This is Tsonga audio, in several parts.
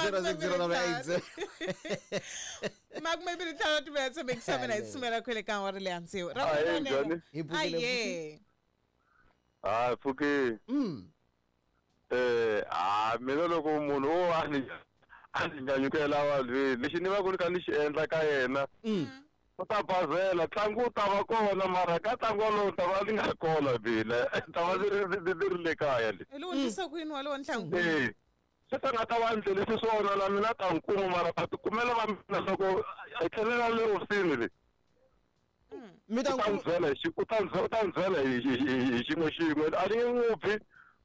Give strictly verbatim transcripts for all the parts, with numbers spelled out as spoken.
Zero six zero double eight seven. Makumembili ntlhanu timetse bekisame na isumela kwele ka awara leya tsevu. Ra Ahee, njhani? Hi pfukile, Aye. Ah, pfuki. Mm. Eh, ah, mina loko munhu wo a ni a ni nyanyukela vanhwini, lexi ni va ku ni kha ni xi endla ka yena, Mm. u ta bazela, ntlangu wu ta va kona, mara ka ntlangu wolowo ni ta va ni nga kona mina, ni ta va ni ri ni ni ri le kaya le. Hi lowu ndlisa ku yini walowo ntlangu? Eh, se ta nga ta va ndlelisi swona na mina ta n'wi kuma, mara ta tikumela va mina loko hi tlhelela le hofisini le. Mi ta U ta n'wi n'wi byela hi xi- u ta n'wi byela- u ta n'wi byela hi hi- hi- hi xin'we xin'we, a ni nge n'wi bi,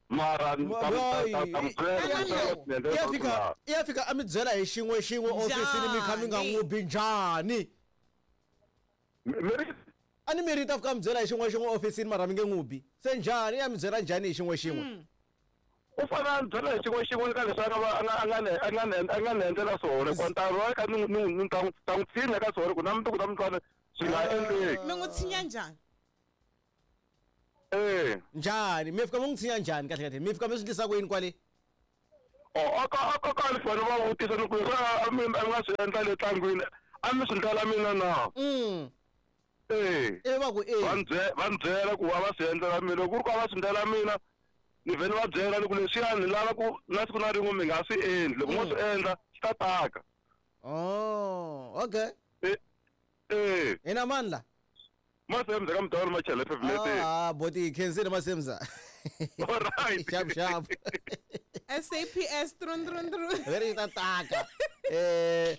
mara ni ta ta- ta- ta n'wi byela leswaku ni endlela ya leswaku fika na- ya fika a mi byela hi xin'we xin'we ofisini mi kha mi nga Njhani? n'wi bi njhani? Mi- mi ri- A ni mi ri ta fika mi byela hi xin'we xin'we ofisini mara mi nge n'wi bi. Se njhani ya mi byela njhani hi xin'we xin'we? U fanele a ni byela hi xin'we xin'we ka leswi a nga va- a nga- a nga ni- a nga ni- a nga ni endlela swona, hikuva ni ta va kha ni n'wi- ni n'wi- ni ta n'wi- ta n'wi tshinya ka swona ku na mundzuku ta mutwana swi nga endleki. Mi n'wi tshinya njhani? Eh. Njhani? Mi fika mi n'wi tshinya njhani kahle kahle? Mi fika mi swi endlisa ku yini kwale? Oh, a ka a ka ka ni fanele va vutisa ni ku leswi a mi a nga swi endla le ntlangwini, a mi swi ndlela mina na? Mm. Eh. Ivi va ku Va e. ni bye- va ni byela ku a va swi endlela mina, loko ku ri ku a va swi ndlela mina, ni vhele va byela ni ku leswiya ni lava ku na siku na rin'we mi nga swi endli, loko mo swi endla swi ta taka. Oh, okay. Eh, eh. Hina mani la? Masemza ka mudawula Machele Fefulete. Ah, boti khensile Masemza. All right. Sharp sharp. S A P S trun trun trun. Veri ta taka. Eh,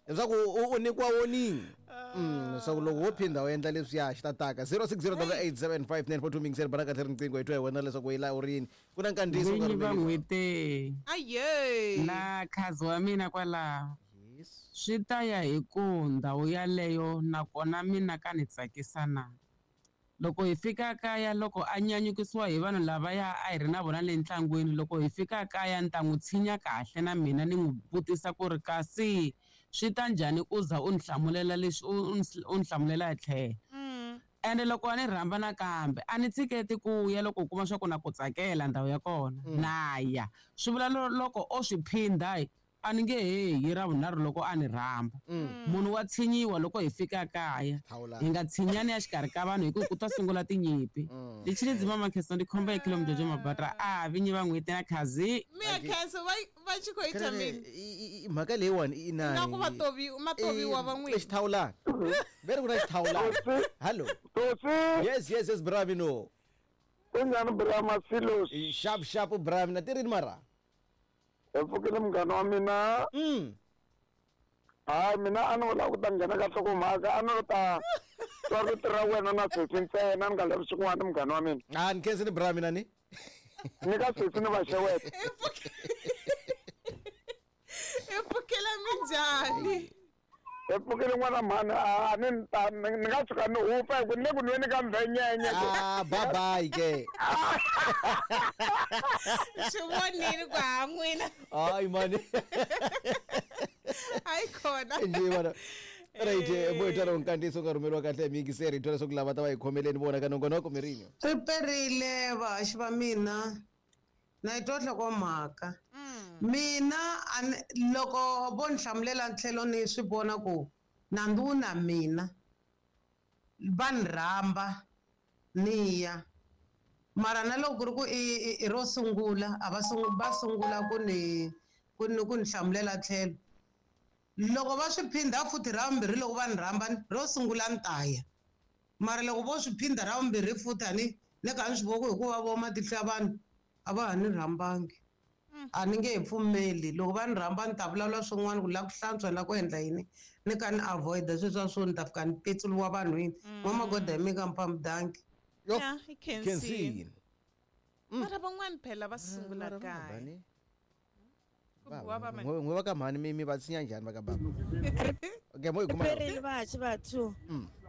leswaku u u nyikiwa warning. Mm, leswaku loko wo phinda u endla leswiya xi ta taka. zero six zero double eight seven five nine four two mingiseri bana kahle riqingho hi twa hi wena leswaku yi la u ri yini. Ku na nkandziyiso Vinyi nkarhi va lowu. n'hweti Aye. na khazi wa mina kwalaho Yes. swi ta ya hi ku ndhawu yaleyo nakona mina ka ni tsakisa na. Loko hi fika kaya loko a nyanyukisiwa hi vanhu lavaya a hi ri na vona le ntlangwini, loko hi fika kaya ni ta n'wi tshinya kahle na mina ni n'wi vutisa ku ri kasi swi ta njhani u za u ni hlamulela leswi u ni u ni hlamulela hi tlhelo. Mm. Ende loko a ni rhamba nakambe a ni tshiketi ku ya loko u kuma swa ku na ku tsakela ndhawu ya kona na ya. Swi vula loko o swi phindha a ni nge he hi ra vunharhu loko a ni rhamba. Munhu wa tshinyiwa loko hi fika kaya. Thawula. Hi nga tshinyani ya xikarhi ka vanhu hi ku ku ta sungula tinyimpi. Lexi mama Khensa ndi khomba hi kilo Mjojo Mabatra a vinyi va n'hweti na khazi. Miya Khensa va va tshi khou ita mini? Mhaka leyiwani i inani. Nga ku va tovi matoviwa va n'wina. Xithawulana. Veri ku na xithawulana. Hello. Tosi. Yes, yes, yes, Brami no. Kunjani Brahma Silos? Sharp sharp Brami na tirini mara. Hi pfukile munghana wa mina. Mm. Hayi mina a ni lava ku ta nghena ka nhlokomhaka, a ni lo ta twa rito ra wena na sesi ntsena ni nga lavi swin'wana munghana wa mina. Ah, ni khensile Brami na ni. Ni ka sesi ni va xeweta. I pfukela minjhani? Hi pfukile n'wana mhani, a ni ta ni nga tshuka ni hupa hi ku ni le ku nweni ka mvhenyenye. Ah, bye bye ke. Swi vonile ku ha n'wina. Hayi mani. Hayi khona. Nje bana. Right, bo tala nkandiso nga rhumeriwa kahle hi miyingiseri hi twa leswaku lava ta va hi khomeleni vona ka nongonoko mirinyo. Ri perile vahaxi va mina na yi twa nhlokomhaka. Mina a ni loko vo ni hlamulela tlhelo ni swi vona ku nandzu wu na mina va ni rhamba ni ya, mara na loko ku ri ku i i ro sungula a va va sungula ku ni ku ni ku ni hlamulela tlhelo, loko va swi phindha futhi ra vumbirhi loko va ni rhamba ro sungula ni ta ya, mara loko vo swi phindha ra vumbirhi futhi a ni ni kha ni swi vona ku hikuva vo matihlo ya vanhu a va ha ni rhambangi. A ni nge he pfumeli loko va ni rhamba ni ta vulavula swin'wana ku lava ku hlantswa na ku endla yini ni kha ni avoid sweswiya swo ni ta fika ni petsuriwa vanhwini. N'wamagoda hi mina ka Mpamdanki. Yo. Yeah, hi khensile. Khensile. Mara van'wani phela va sungula kaya. Ku biwa va mani. N'we va ka mhani mi mi va tshinya njhani va ka baba? Okay, mo yi kuma. Perile vahaxi va two.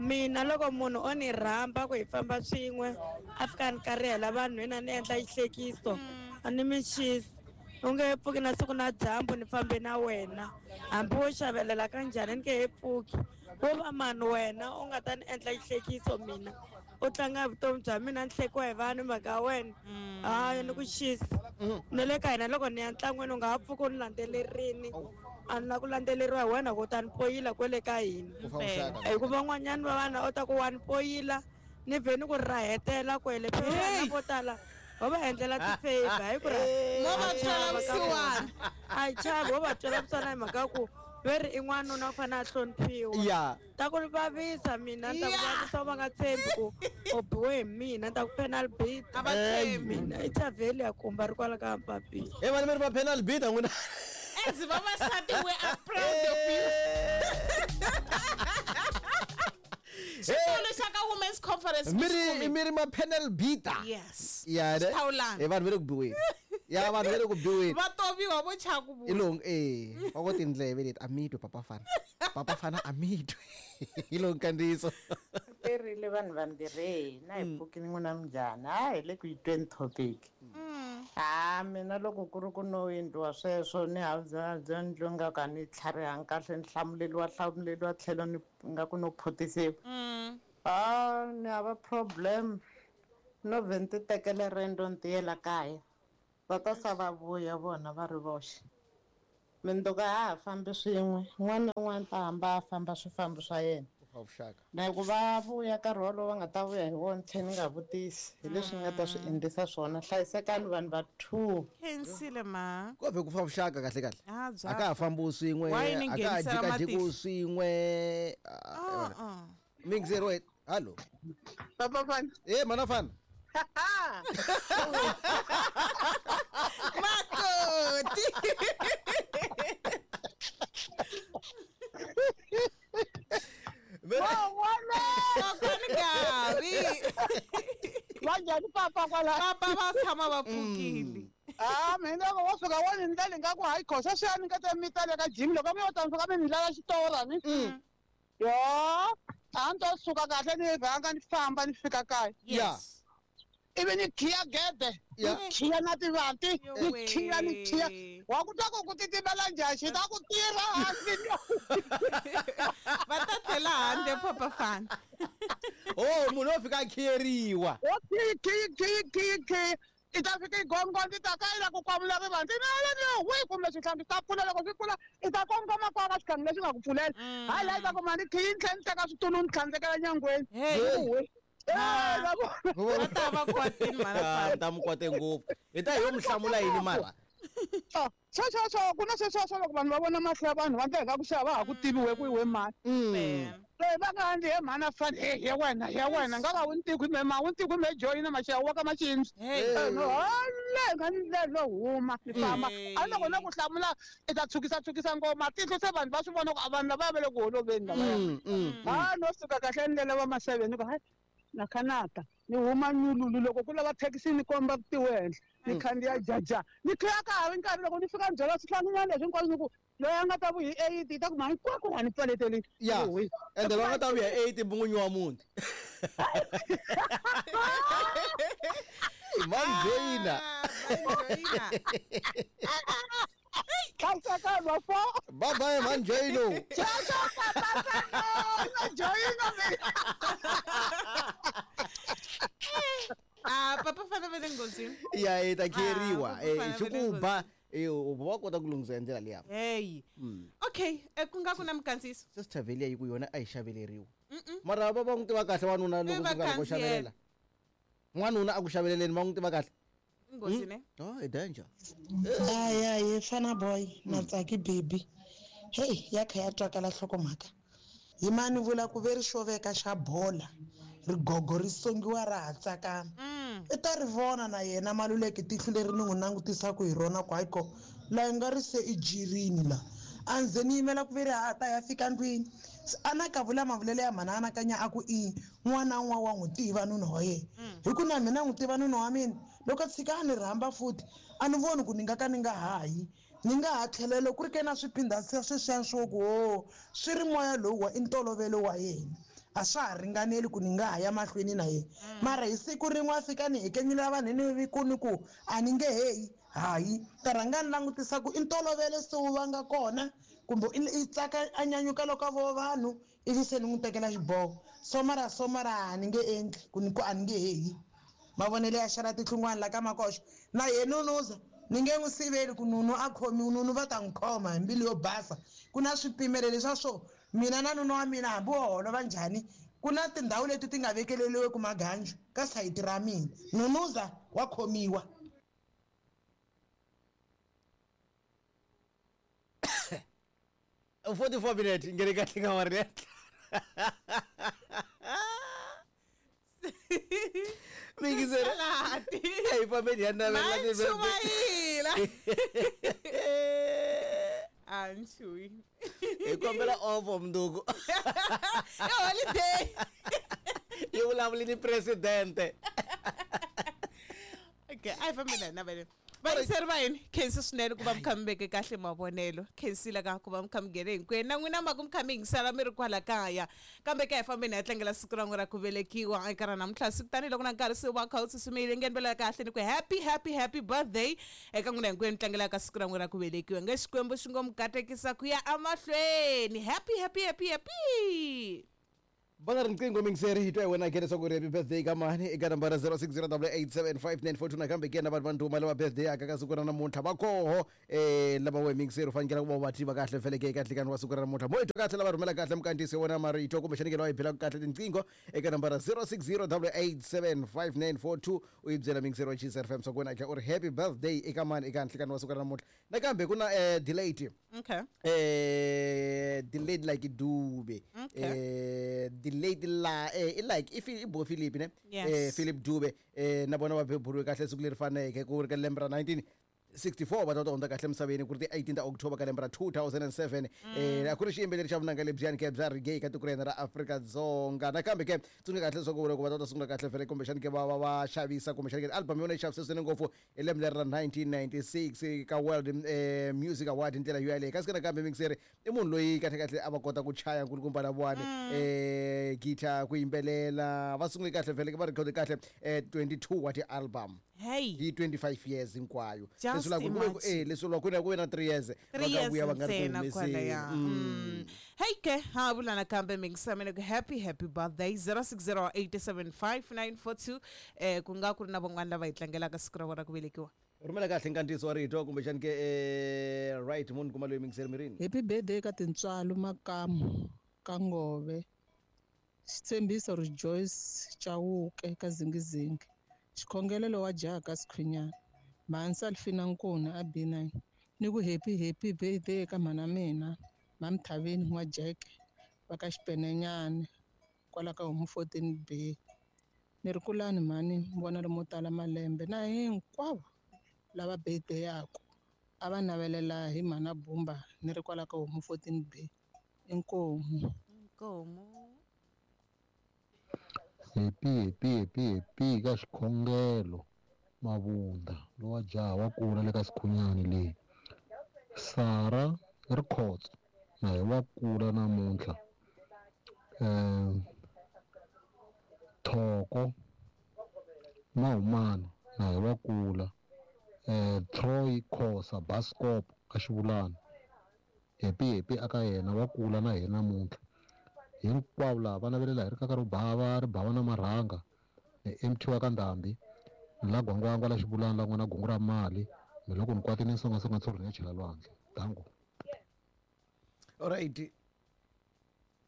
Mina loko munhu o ni rhamba ku hi famba swin'we a fika ni karihela vanhwini ni endla xihlekiso a ni mi xisi. U nge he pfuki na siku na dyambu ni fambe na wena hambi wo xavelela ka njhani ni nge he pfuki. Wo va mani wena u nga ta ni endla xihlekiso mina u tlanga vutomi bya mina ni hlekiwa hi vanhu mhaka ya wena. Hayi ni ku xisa. Na le ka hina loko ni ya ntlangwini u nga ha pfuki u ni landzelerini. A ni la ku landzeleriwa hi wena ku ta ni poyila kwele ka hina. Hikuva van'wanyana va vana u ta ku wa ni poyila ni vhe ni ku rahetela kwele. Phela vo tala va va endlela ti-favor hi ku mo va twela vusiwana. A hi chavi wo va twela vusiwana hi mhaka ku ve ri i n'wanuna u fanele a hloniphiwa. Ya. Ta ku vavisa mina ta ku vavisa va nga tshembi ku u biwe hi mina ta ku penal beat. A va tshembi. Mina i chavheli ya kumba ri kwala ka Mpapile. He vana mi ri va penal beat a n'wina. As vavasati we are proud of you. Xitolo xa ka Women's Conference mi ri mi ri ma penal beater. Yes. Ya ne. Xithawulana. He vanhu va le ku biweni. Ya vanhu va le ku biweni. Va toviwa vo chava ku I long eh va ko tindleve leti a mi twi papa fana. Papa fana a mi twi. Hi long kandziyiso. Perile vanhu vambirhi na hi pfukini n'wina minjhani a hi le ku yi tweni topic. Ha mina loko ku ri ku no endliwa sweswo ni habya ni twa nga ka ni tlharihangi kahle ni hlamuleliwa hlamuleliwa tlhelo ni nga ku no phutisiwa. A ni hava problem no vhe ni ti tekele riendzo ni tiyela kaya. Va ta sa va vuya vona va ri voxe. Mindzuku a ha fambi swin'we un'wana na un'wana ta hamba a famba swifambo swa yena. Na ku va vuya nkarhi wolowo va nga ta vuya hi wona tlhe ni nga vutisi hi leswi ni nga ta swi endlisa swona hlayisekani vanhu va two. Khensile ma. Ko vhe ku fa vuxaka kahle kahle. A A ka ha fambiwi swin'we, Why ni a ka ha nghenisela jikajiki matihlo? swin'we. Ming zero eight. Hallo. Papa Fana. Eh mana Fana. Makoti. Kokwani Gavi. Va njhani papa kwala? Papa va tshama va pfukile. Ah, mina loko wo fika wo ni ndlela nga ku hayi khosa swiyani nga ta mi ta le ka gym loko mi yo ta mi fika mi ni ndlela xitora ni. Yo, a ni to suka kahle ni rhanga ni famba ni fika kaya. Yes. Ivi ni khiya gede, ni khiya na tivanti, ni khiya ni khiya. Wa ku twa ku ku titimela njhani xi ta ku tirha hansi. Va ta tlhela handle Papa Fana. Oh, munhu wo fika a khiyeriwa. Wo khiyi khiyi khiyi khiyi khiyi. I ta fika i gongonda i ta ka i la ku kwamula rivanti na wihi kumbe swihlangi swi ta pfula loko swi pfula i ta kongoma kwala ka xihlangi lexi nga ku pfulela. Hayi laha i ta kuma ni khiyi ni tlhela ni teka switulu ni tlhandlekela nyangweni. Hey. Va ta va kwatini mara Ah, ta mi kwate ngopfu. Hi ta hi yo mi hlamula yini mara? Sweswo swo ku na sweswo swo loko vanhu va vona mahlo ya vanhu va ndla hi nga ku xava va ha ku tiviwe ku i we mani. Loyi va nga ndzi he mhani a fani he he wena he wena nga va wu ni tivi me ma wu ni tivi me joyina maxava wa ka maxindzi. No hale nga ni ndlela huma ni famba. A loko na ku hlamula i ta tshukisa tshukisa ngoma tihlo se vanhu va swi vona ku a vanhu lava va le ku holoveni lavaya. Ha no suka kahle ndlela va maseve ni ku hayi na khanata ni huma nyululu loko ku lava thekisi ni komba tiwenhle ni khandziya jaja ni khiya ka ha ri nkarhi loko ni fika ni byela swihlanginyana leswi hinkwaswo ni ku loyi a nga ta vuya hi eight yi ta ku ma hinkwako wa ni pfaleteli. Ya. Ende loyi a nga ta vuya hi eight mun'winyi wa muti. Manjoyina. Hlayisekani va fo. Bye bye Manjoyino. Ciao ciao papa Fana. Manjoyino mina. Ah, Papa Fana va le nghozini. Ya i ta khiyeriwa. Ah, Eh Papa Fana xi va le ku ba eh u va kota ku lunghisa hi ndlela liya. Hey. Okay, ku nga ku na mikandziyiso. Se Sithaveliya yi ku yona a yi xaveleriwi. Mara va va n'wi tiva kahle wanuna loko Va swi nga ku xavelela. N'wanuna a ku xaveleleni va n'wi tiva kahle. Nghozi ne? Oh, i danger. Aya ye Fana boy na Tsaki baby. Hey, ya kha ya twakala nhlokomhaka. Yimani vula ku ve ri xoveka xa bola. Rigogo ri songiwa ra ha tsakama. I ta ri vona na yena Maluleke tihlo leri ni n'wi langutisaka hi rona ku hayi ko la nga ri se i jirini la. A ndze ni yimela ku ve ri ha ta ya fika ndlwini. A na ka vula mavulelo ya mhana anakanya a ku i n'wana n'wa wa n'wi tiva nuna wa yena. Hi ku na mina n'wi tiva nuna wa mina loko a tshika a ni rhamba futhi a ni voni ku ni nga ka ni nga hayi. Ni nga ha tlhelela ku ri ke na swiphindha sweswiya swo ku ho swi ri moya lowu wa i ntolovelo wa yena. A swa ha ringaneli ku ni nga ha ya mahlweni na yena. Mara hi siku rin'we a fika ni hekenyela vanhu ni ku ni ku a ni nge heyi hayi ta rhanga ni langutisa ku i ntolovelo se wu va nga kona kumbe i tsaka a nyanyuka loko a vo vanhu ivi se ni n'wi tekela xiboho. So mara so mara a ni nge endli ku ni ku a ni nge heyi. Mavonelo ya xana tihlungwana la ka makoxo Na ye Nunuza ni nge n'wi siveli ku Nunu a khomiwi, Nunu va ta n'wi khoma hi mbilu yo basa. Ku na swipimelo leswa swo mina na nuna wa mina hambi wo holova njhani, ku na tindhawu leti ti nga vekeleriweki maganju ka sayiti ra mina. Nunuza wa khomiwa. forty-four minutes ngene kahle ka wari. Mingisera. Hey family ya na la Chumayila. Anchui. E kombela ovo mnduku. E holiday. E vulavula ni presidente. Okay, ai family na vele. Vayingiseri va hina, khensa swinene ku va mi kha mi veke kahle mavonelo. Khensile ka ku va mi kha mi nghene hinkwenu. Na n'wina mhaka mi kha mi yingisela mi ri kwala kaya. Kambe ka hi fambeni hi ya tlangela siku ra n'wina ra ku velekiwa eka ra namuntlha. Siku tanihiloko na nkarhi se wu va kha wu tsutsumile, nghenivela kahle ni ku happy happy happy birthday eka n'wina hinkwenu tlangelaka siku ra n'wina ra ku velekiwa. Nge Xikwembu xi ngo mi katekisa ku ya emahlweni. Happy happy happy happy. Bana riqingho mingiseri hi twa hi wena ke leswaku ri happy birthday ka mani eka nambara zero six zero eight seven five nine four two. Nakambe ke na vanhu va ndhuma lava birthday yaka ka siku ra namuntlha va koho eh lava we mingiseri u fanekele ku va va tiva kahle feleke eka nhlekani wa siku ra namuntlha. Mo hi twa kahle lava rhumela kahle mukantisi wa wona marito kumbexani ke lawa hi belaka kahle tinqingho eka nambara zero six zero eight seven five nine four two u yi byela mingiseri wa Chiefs F M swa ku wena ke u ri happy birthday eka mani eka nhlekani wa siku ra namuntlha. Nakambe ku na eh delayed. Okay. Eh delayed like Dube. Okay. Eh delayed la eh like if i bo Philip ne Yes. eh Philip Dube eh na vona va beburiwe kahle siku leri faneke ku ri ka lembe ra nineteen sixty-four va ta ta hundza kahle emisaveni ku ri ti eighteen ta October ka lembe ra two thousand and seven. Eh a ku ri xiyimbeleri xa vunanga lebyiyani ke bya reggae ka tiko ra hina ra Afrika-Dzonga. Nakambe ke tsundzuka kahle leswaku loko va ta ta sungula kahle vhele kumbexani ke va va va xavisa kumbexani ke album yona yi xavise swinene ngopfu hi lembe leri ra nineteen ninety-six ka World eh, Music Award hi ndlela yo yaleyo. Kasi ke nakambe mingiseri i munhu loyi kahle kahle a va kota ku chaya nkulukumba lavawani eh guitar ku yimbelela va sungule kahle vhele va record kahle eh twenty-two wa ti-album. Hey. Hi twenty-five years hinkwayo. Just Leswi la ku ku imagine. eh leswi la ku na ku na three years Three va ta years vuya va nga ri ku ntsena humeseni. kwalaya. Mm. Hey ke ha vula nakambe mingisamene ku happy happy birthday zero six zero eight seven five nine four two eh ku nga ku ri na van'wana lava hi tlangelaka siku ra vona ku velekiwa. Rhumela kahle nkandziyiso wa rito kumbexani ke eh right munhu kuma loyi mingiseri mirini. Happy birthday ka Tintswalo Makamu ka Ngove. Xitshembiso Rejoice Chauke ka Zingizingi. Xikhongelelo wa jaha ka Sikhwinyana. Mhani Salfina Nkuna a B nine. Ni ku happy happy birthday ka mhana mina Mamthavini N'wa Jeke va ka Xipenenyane kwala ka Homu fourteen B. Ni ri kulani mhani mi vona lomo tala malembe na hinkwavo lava birthday yaku a va navelela hi mhana Bumba ni ri kwala ka Homu fourteen B. Inkomu. Inkomu. Happy happy happy happy ka xikhongelo Mabunda lowa jaha wa kula le ka Sikhunyani leyi. Sara Rikhotso na hi wa kula namuntlha. Eh Thoko Mahumana na hi wa kula. Eh Troy Khosa Bascop ka Xivulana. Happy happy aka yena wa kula na hina namuntlha. Hinkwavo lava va navelela hi ri kaka ro bava ri bava na marhanga ni M T wa ka Ndhambi ni la Gwangwangwa la Xivulana la n'wana gungu ra mali ni loko ni kwatile ni songasonga ntshuri ni ya chela lwandle. Dango. All right.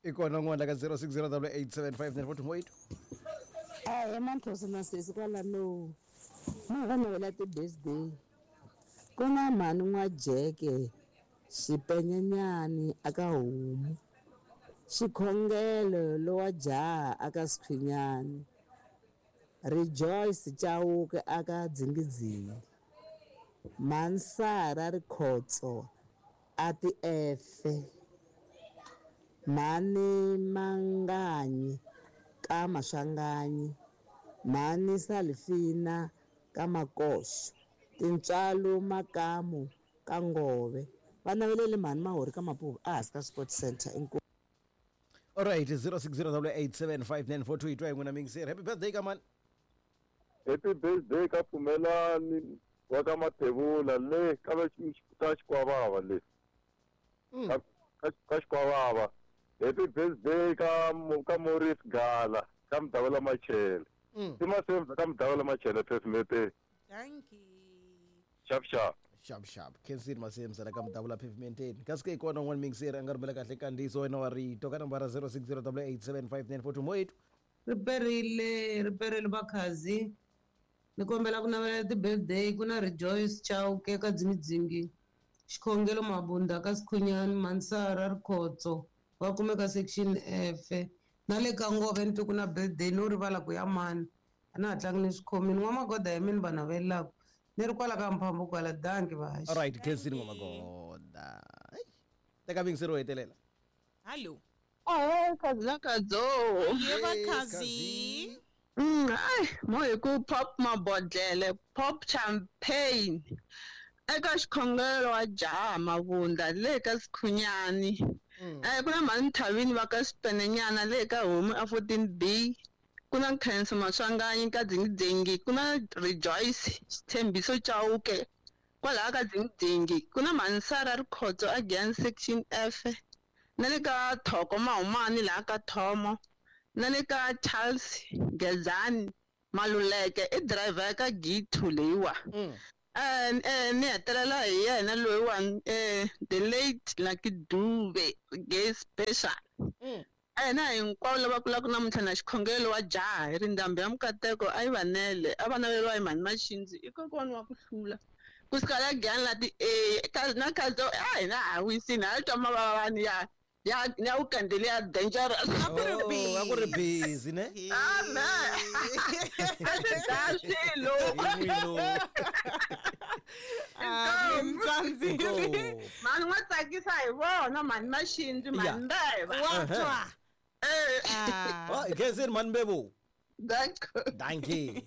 I kona n'wana ka zero six zero eight seven five nine four two eight. Eh manthosi na sesi kwalano. Ma va navela ti-birthday. Ku na mhani N'wa-Jeke Xipenyenyani aka Homu. Xikhongelo lowa jaha aka Sikhwinyani. Rejoice Chauke aka Dzingidzingi. Mhani Rikhotso a ti efe. Mhani Manganyi ka Maswanganyi. Mhani Salifina ka Makoxo. Tintswalo Makamu ka Ngove. Va navelele mhani Mahori ka Mapuva a hansi ka Sport Center. Inkomu. All right, zero six zero eight seven five nine four two eight n'wina mingiseri. Happy birthday ka mani. Happy birthday ka Pfumelani wa ka Mathebula le ka va ka Xikwavava le. Ka ka Xikwavava. Happy birthday ka ka Maurice Gala ka Mdavela Machele. I masemba ka Mdavela Machele phefumete. Thank you. Xap xap. Xap xap. Khensini Masemsa la ka mudavula pavementeni. Kasi ke kona un'wana mixer a nga rhumela kahle kandziyiso wena wa rito ka nambara zero six zero eight eight seven five nine four two moyethu. Riperile, riperile vakhazi. Ni kombela ku navela ti-birthday ku na Rejoice Chauke ka Dzingidzingi. Xikhongelo Mabunda ka Sikhunyani, Mansara Rikhotso va kumeka section F. Na le ka Ngove ni twe ku na birthday no rivala ku ya mani. A na ha tlangi ni swikhomini. N'wamagoda ya mina va navelelaka. Ni ri kwala ka Mphambo kwala danki vaxi. All right, Khensini N'wamagoda. Teka mixer wo hetelela. Hallo. Oh, kazi na kadzo. Yebo kazi. Mm, ai, mo hi ku pop mabodlele, pop champagne. Eka xikhongelo wa jaha Mabunda le ka Sikhunyani. Eh ku na mhani Thavini va ka Xipenenyana le ka Homu a fourteen B. Ku na Khensa Maswanganyi ka Dzingidzingi, ku na Rejoice Xitshembiso Chauke kwalaha ka Dzingidzingi, ku na Mansara Rikhotso again section F. Na le ka Thoko Mahumani laha ka Thomo. Na le ka Charles Gezani Maluleke i driver ya ka G two leyiwa. Eh eh ni hetelela hi yena loyiwani eh the late Lucky Dube gay special. Ena hinkwavo lava kulaka namuntlha na xikhongelo wa jaha hi ri ndhambi ya mikateko a yi vanele a va naveriwa hi mhani Maxindzi i kokwani wa ku hlula ku suka la Giyani la ti A na Kadzo a hina ha wisini ha twa mavavani ya ya ya weekend leya dangerous. A ku ri busy ne? Amen. A swi dlaya swilo. Mani n'wa tsakisa hi vona mhani Maxindzi mhani Mbeva. Wa twa. Eh. Oh, Khensini mhani Mbevo. Danko. Dankie.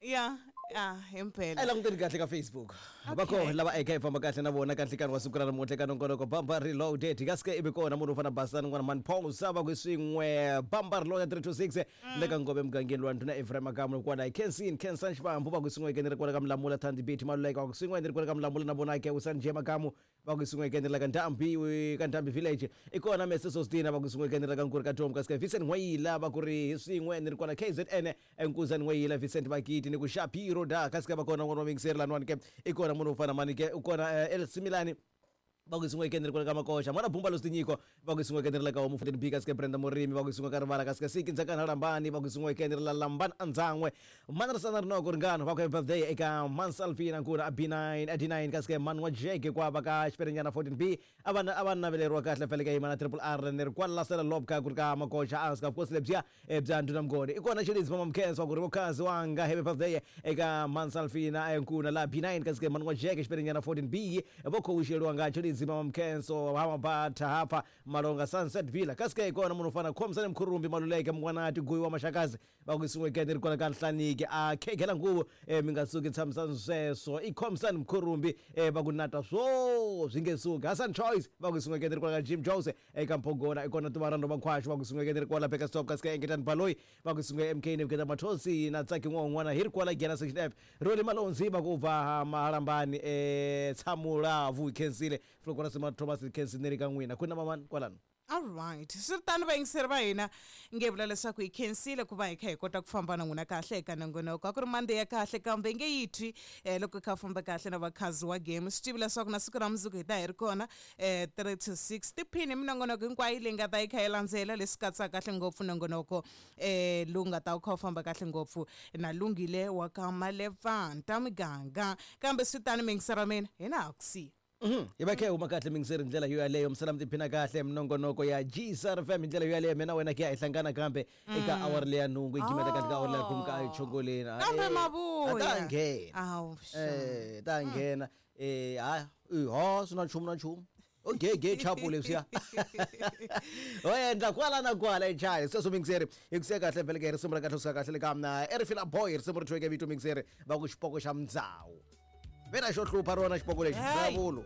Yeah. Ah, himpela. A languteni kahle ka Facebook. Va koho lava eka hi famba kahle na vona ka nhlikani wa siku ra namuntlha ka nongonoko Bamba Reloaded. Kasi ke ivi kona munhu u fana Basani n'wana mani Paul Sava ku swin'we Bamba Reloaded three two six le ka Ngove mugangeni wa ndhuna Ephraim Makamu kwala hi Khensini Khensan Xivambu va ku swin'we ke ni ri kwala ka Mlamula Thandi Beat Maluleka va ku swin'we ni ri kwala ka Mlamula na vona ke Usani J Makamu va ku swin'we ke ni ri la ka Ndhambi ka Ndhambi Village i kona Mese Sostina va ku swin'we ke ni ri la ka Nkuri ka Tom kasi ke Vincent N'wayila va ku ri hi swin'we ni ri kwala K Z N Nkuzani N'wayila Vincent Vakiti ni ku Shapiro da kasi ke va kona n'wana wa mixer laniwani ke i kona munhu wo fana mani ke u kona El Similani va ku swin'we ke ni ri kwala ka Makoxa mwana Bumba lo Tinyiko va ku swin'we ke ni ri la ka Homu fourteen B kasi ke Brenda Murimi va ku swin'we ka Rivala kasi ke Siki Ndzakana Lambani va ku swin'we ke ni ri la Lambani Andzan'we Mana Risana Rinoko Ringano va ku happy birthday eka Mansalfina Nkuna a B nine a D nine kasi ke Mani wa Jeke kwava ka Xiperenyana fourteen B a va a va naveleriwa kahle fele ka yimana Triple R ni ri kwala Lasela Lobka ku ri ka Makoxa a ska vukosi lebyiya bya Ndhuna Mngoni i kona Xilidzi Mama Mkhensa wa ku ri vokhazi wanga happy birthday eka Mansalfina Nkuna la B nine kasi ke Mani wa Jeke Xiperenyana fourteen B vo khowuxeriwa nga Xilidzi Mama Mkhenso Hamabata hapa Malonga Sunset Villa kasi ke kona munhu u fana Khomsani Mkhurumbi Maluleke Mngwanati Guyi wa Maxakazi va ku swin'we ke ni ri kwala ka Nhlaniki a khegela nguvu mi nga suki tshamisani sweswo i Khomsani Mkhurumbi va ku nata swo swi nge suki Hassan Choice va ku swin'we ke ni ri kwala ka Jim Jose eka Mphogona i kona Tuvarando Makhwashu va ku swin'we ke ni ri kwala Bekastop kasi ke Engetani Baloyi va ku swin'we M K Nebuketa Mathosi na Tsaki N'wan'wana hi ri kwala Giyani Section F Roli Malonzi va ku bva Mahalambani eh Tshamulavu Khensile Flokora Sima Thomas Khensile ni ri ka n'wina ku na mamani kwalano. All right. Swi tano vayingiseri va hina nge vula leswaku hi khensile ku va hi kha hi kota ku famba na n'wina kahle eka nongonoko. A ku ri Monday ya kahle kambe nge yi twi eh, loko hi kha famba kahle na vakhazi wa game. Swi tivi leswaku na siku ra mundzuku hi ta hi ri kona eh, three to six tiphini hi minongonoko hinkwayo leyi nga ta yi kha yi landzela leswi katsaka kahle ngopfu nongonoko eh, lowu nga ta wu kha wu famba kahle ngopfu na Lungile wa ka Malevanta miganga. Kambe swi tano miyingiseri wa mina hina ha ku siya. Mhm. Hi va khe huma kahle mingiseri ndlela yo yaleyo misala mi tiphina kahle minongonoko ya G S R F M hi ndlela yo yaleyo mina wena ke ya hi hlangana kambe eka awara leya nhungu hi gimeta kahle ka awara leya khume ka chongoleni. Kambe mavuya. Ta nghena. Awu. Eh, ta nghena. Eh, ha, ha, swi na nchumu na nchumu. Okay, ge chapu leswiya. O endla kwala na kwala echaya. Sweswo mingiseri hi ku siya kahle vhele ke risimu ra kahle suka kahle le ka mina Erifila Boy risimu ri thweke vito mingiseri va ku xipoko xa Mdzawu. Vena xo hlupha rona xipoko lexi vulavulo.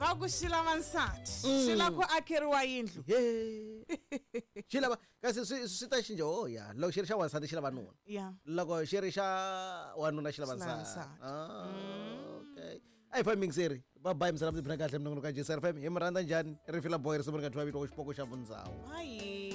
Va ku xi lava nsati, xi lava ku akeriwa yindlu. Xi lava kasi swi swi ta cinca oh ya loko xi ri xa wansati xi lava nuna. Yeah. Loko xi ri xa wanuna xi lava nsati. Ah, okay. A hi fambi mingiseri. Bye bye misala mi tiphina kahle minongonoko ya G S R F M. Hi mi rhandza njhani? Rifila Boy risimu ri nga thwiwa vito xipoko xa Vundzawu. Bye.